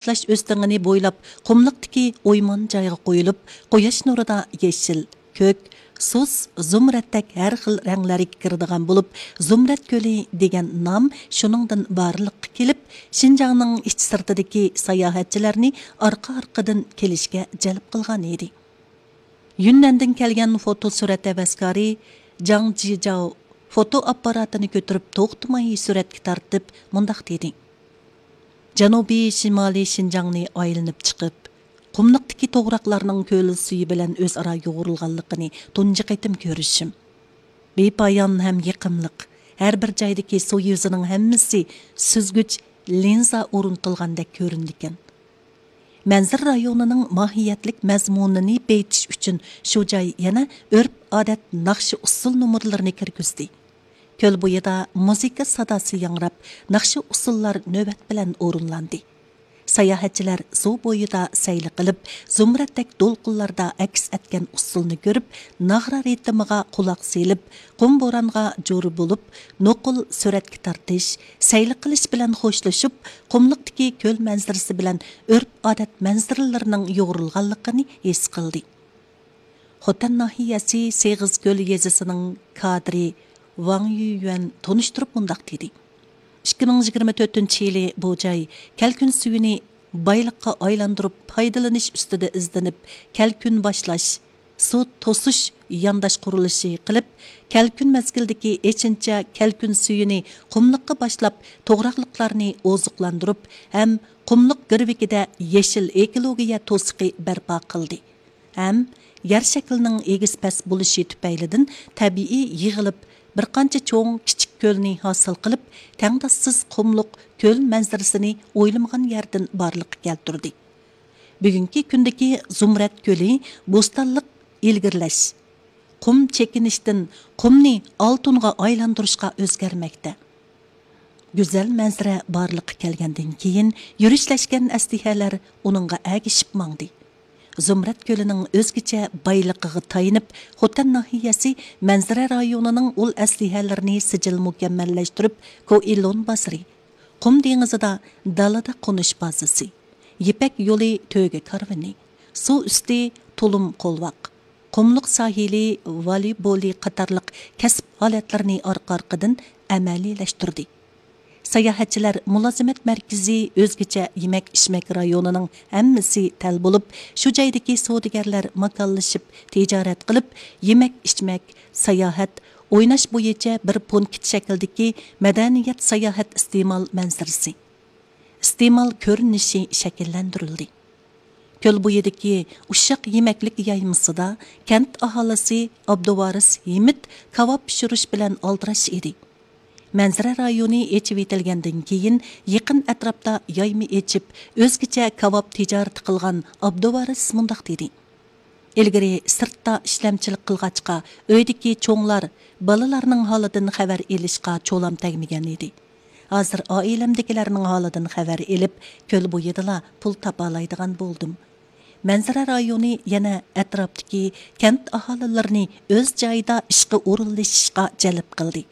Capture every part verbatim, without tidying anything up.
باشلاش ئۆستىڭىنى بويلاپ، قۇملۇقتىكى ئويمان جايغا قويۇلۇپ، قۇياش نۇرىدا يېشىل، كۆك، سۇس، زۇمرەتتەك ھەر خىل رەڭلەرگە كىرىدىغان بولۇپ، زۇمرەت كۆلى دېگەن نام شۇنىڭدىن بارلىققا كېلىپ، شىنجاڭنىڭ ئىچ سىرتىدىكى ساياھەتچىلەرنى ئارقا-ئارقىدىن كېلىشكە جەلپ قىلغان ئىدى. يۈننەندىن كەلگەن فوتو سۈرەت ھەۋەسكارى جاڭ جىجاۋ فوتو ئاپپاراتىنى كۆتۈرۈپ، توختىماي سۈرەتكە تارتىپ، مۇنداق دېدى: جەنۇبىي شىمالىي شىنجاڭنى ئايلىنىپ چىقىپ، قۇملۇقتىكى توغراقلارنىڭ كۆل سۈيى بىلەن ئۆزئارا يۇغۇرۇلغانلىقىنى تۇنجى قېتىم كۆرۈشۈم. بىپايان ھەم يېقىملىق، ھەر بىر جايدىكى سۇ يۈزىنىڭ ھەممىسى سۈزگۈچ لىنزا ئورنىتىلغاندەك كۆرۈنىدىكەن. مەنزىرە رايونىنىڭ ماھىيەتلىك مەزمۇنىنى بېيىتىش ئۈچۈن شۇ جاي يەنە ئۆرپ-ئادەت، ناخشا-ئۇسسۇل نومۇرلىرىنى كىرگۈزدى. كۆل بويىدا مۇزىكا ساداسى ياڭراپ، ناخشا-ئۇسسۇللار نۆۋەت بىلەن ئورۇنلاندى. ساياھەتچىلەر سۇ بويىدا سەيلە قىلىپ، زۇمرەتتەك دولقۇنلاردا ئەكس ئەتكەن ئۇسسۇلنى كۆرۈپ، ناغرا رىتىمىغا قۇلاق سېلىپ، قۇم بورانغا جور بولۇپ، نوقۇل سۈرەتكە تارتىش، سەيلە قىلىش بىلەن خوشلىشىپ، قۇملۇقتىكى كۆل مەنزىرىسى بىلەن ئۆرپ-ئادەت مەنزىرىلىرىنىڭ يۇغۇرۇلغانلىقىنى ھېس قىلدى. خوتەن ناھىيەسى سېغىزكۆل يېزىسىنىڭ كادىرى ۋاڭ يۈيۈەن تونۇشتۇرۇپ مۇنداق دېدى: ئىككى مىڭ يىگىرمە تۆتىنچى يىلى بۇ جاي كەلكۈن سۈيىنى بايلىققا ئايلاندۇرۇپ پايدىلىنىش ئۈستىدە ئىزدىنىپ، كەلكۈن باشلاش، سۇ توسۇش يانداش قۇرۇلۇشى قىلىپ، كەلكۈن مەزگىلىدىكى ئېچىنچا كەلكۈن سۈيىنى قۇملۇققا باشلاپ، توغراقلىقلارنى ئوزۇقلاندۇرۇپ ھەم قۇملۇق گىرۋىكىدە يېشىل ئېكولوگىيە توسۇقى بەرپا قىلدى ھەم يەر شەكلىنىڭ ئېگىز-پەس بولۇشى تۈپەيلىدىن تەبىئىي يىغىلىپ، بىر قانچە چوڭ، كىچىك كۆلنى ھاسىل قىلىپ، تەڭداشسىز قۇملۇق كۆل مەنزىرىسىنى ئويلىمىغان يەردىن بارلىققا كەلتۈردى. بۈگۈنكى كۈندىكى زۇمرەت كۆلى بوستانلىق ئىلگىرىلەش، قۇم چېكىنىشتىن قۇمنى ئالتۇنغا ئايلاندۇرۇشقا ئۆزگەرمەكتە. گۈزەل مەنزىرە بارلىققا كەلگەندىن كېيىن، يۈرۈشلەشكەن ئەسلىھەلەر ئۇنىڭغا ئەگىشىپ ماڭدى. زۇمرەت كۆلىنىڭ ئۆزگىچە بايلىقىغا تايىنىپ، خوتەن ناھىيەسى مەنزىرە رايونىنىڭ ئۇل ئەسلىھەلىرىنى سىجىل مۇكەممەللەشتۈرۈپ، كوئىلون بازىرى، قۇم دېڭىزىدا دالىدا قونۇش بازىسى، يىپەك يولى تۆگە كارۋىنى، سۇ ئۈستى تۇلۇم قولۋاق، قۇملۇق ساھىلى ۋالىبولى قاتارلىق كەسىپ ھالەتلىرىنى ئارقا-ئارقىدىن ئەمەلىيلەشتۈردى. ساياھەتچىلەر مۇلازىمەت مەركىزى ئۆزگىچە يېمەك-ئىچمەك رايونىنىڭ ھەممىسى تەل بولۇپ، شۇ جايدىكى سودىگەرلەر ماكانلىشىپ تىجارەت قىلىپ، يېمەك-ئىچمەك، ساياھەت، ئويناش بويىچە بىر پونكىت شەكلىدىكى مەدەنىيەت ساياھەت ئىستېمال مەنزىرىسى، ئىستېمال كۆرۈنۈشى شەكىللەندۈرۈلدى. كۆل بويىدىكى ئۇششاق يېمەكلىك يايمىسىدا كەنت ئاھالىسى ئابدۇۋارىس ھىمىت كاۋاپ پىشۇرۇش بىلەن ئالدىراش ئىدى. مەنزىرە رايونى ئېچىۋېتىلگەندىن كېيىن، يېقىن ئەتراپتا يايما ئېچىپ، ئۆزگىچە كاۋاپ تىجارىتى قىلغان ئابدۇۋارىس مۇنداق دېدى: ئىلگىرى سىرتتا ئىشلەمچىلىك قىلغاچقا، ئۆيدىكى چوڭلار بالىلارنىڭ ھالىدىن خەۋەر ئېلىشقا چولام تەگمىگەن ئىدى. ھازىر ئائىلەمدىكىلەرنىڭ ھالىدىن خەۋەر ئېلىپ، كۆل بويىدىلا پۇل تاپالايدىغان بولدۇم. مەنزىرە رايونى يەنە ئەتراپتىكى كەنت ئاھالىلىرىنى ئۆز جايىدا ئىشقا ئورۇنلىشىشقا جەلپ قىلدى.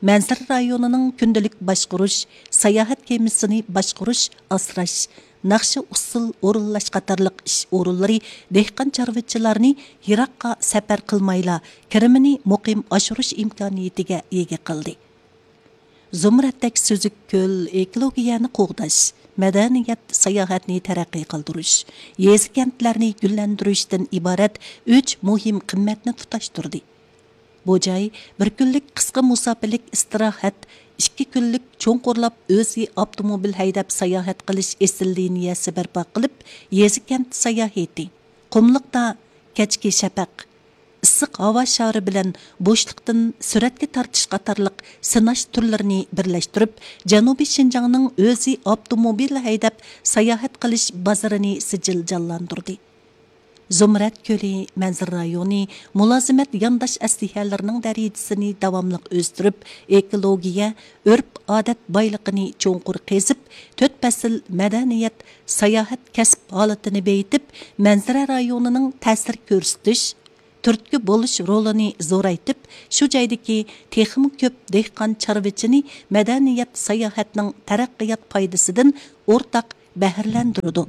مەنزىرە رايونىنىڭ كۈندىلىك باشقۇرۇش، ساياھەت كېمىسىنى باشقۇرۇش، ئاسراش، ناخشا ئۇسسۇل ئورۇنلاش قاتارلىق ئىش ئورۇنلىرى دېھقان چارۋىچىلارنى يىراققا سەپەر قىلمايلا، كىرىمىنى مۇقىم ئاشۇرۇش ئىمكانىيىتىگە ئىگە قىلدى. زۇمرەتتەك سۈزۈك كۆل ئېكولوگىيەنى قوغداش، مەدەنىيەت، ساياھەتنى تەرەققىي قىلدۇرۇش، يېزا-كەنتلەرنى گۈللەندۈرۈشتىن ئىبارەت ئۈچ مۇھىم قىممەتنى تۇتاشتۇردى. بۇ جاي بىر كۈنلۈك قىسقا مۇساپىلىك ئىستىراھەت، ئىككى كۈنلۈك چوڭقۇرلاپ ئۆزى ئاپتوموبىل ھەيدەپ ساياھەت قىلىش ئېسىل لىنىيەسى بەرپا قىلىپ، يېزا-كەنت ساياھىتى، قۇملۇقتا كەچكى شەپەق، ئىسسىق ھاۋا شارى بىلەن بوشلۇقتىن سۈرەتكە تارتىش قاتارلىق سىناش تۈرلىرىنى بىرلەشتۈرۈپ، جەنۇبىي شىنجاڭنىڭ ئۆزى ئاپتوموبىل ھەيدەپ ساياھەت قىلىش بازىرىنى سىجىل جانلاندۇردى. زۇمرەت كۆلى مەنزىرە رايونى مۇلازىمەت يانداش ئەسلىھەلىرىنىڭ دەرىجىسىنى داۋاملىق ئۆستۈرۈپ، ئېكولوگىيە، ئۆرپ-ئادەت بايلىقىنى چوڭقۇر قېزىپ، تۆت پەسىل مەدەنىيەت، ساياھەت كەسىپ ھالىتىنى بېيىتىپ، مەنزىرە رايونىنىڭ تەسىر كۆرسىتىش، تۈرتكە بولۇش رولىنى زورايتىپ، شۇ جايدىكى تېخىمۇ كۆپ دېھقان چارۋىچىنى مەدەنىيەت ساياھەتنىڭ تەرەققىيات پايدىسىدىن ئورتاق بەھرىلەندۈرىدۇ.